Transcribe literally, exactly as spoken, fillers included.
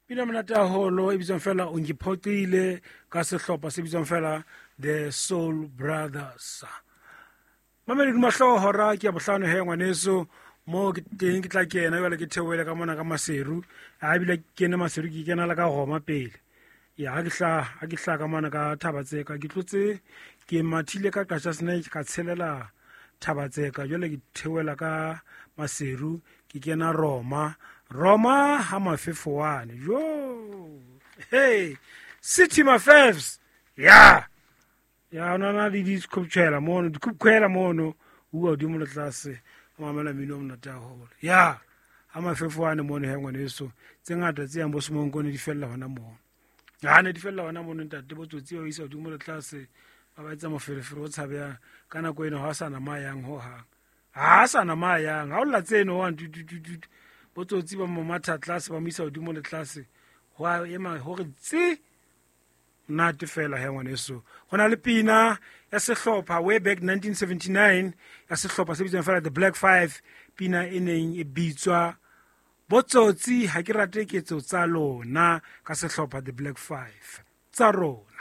Pina monate haholo e bitswang fela O Ngiphoqile ka sehlopha se bitswang fela The Soul Brothers. Mamelodi mahloho hora ke ya bohlano he ngwaneso, mo ke teng ke tla kena jwale ke theohele ka mona ka Maseru. A ebile ke kene Maseru, ke kena le ka Roma pele. Ya ha ke hlaha, ha ke hlaha ka mona ka Thabatseka, ke tlotse ke mathile ka Qachaseneke, ka tshelela Thabatseka, jwale ke theohela ka Maseru, ke kena Roma. Roma ha Mafefowane. Jo. Hey, City Mafefs. Ya. Ya ona na le dikhoptjhela mono, dikhopkhwela mono, bua hodimo le tlase, o mamela mmino o monate haholo. Ya. Ha Mafefowane mono he ngwaneso, tse ngata tse yang bo Semonkone di fella hona mono. Ha ne di fella hona mono ntate, bo tsotsi ba isa hodimo le tlase, ba ba etsa moferefere o tshabehang. Ka nako eno ha o sa na ma yang hohang. Ha sa na ma yang, ha o lla tseno wa tu tu tu tu. Botsotsi ba mo matha tlase, ba mo isa hodimo le tlase. Ho a ema hore tsi nate fela he ngwaneso. Ho na le pina ya sehlopha way back nineteen seventy-nine ya sehlopha se bitswang fela The Black Five, pina e neng e bitswa Botsotsi ha ke rate ketso tsa lona ka sehlopha The Black Five tsa rona.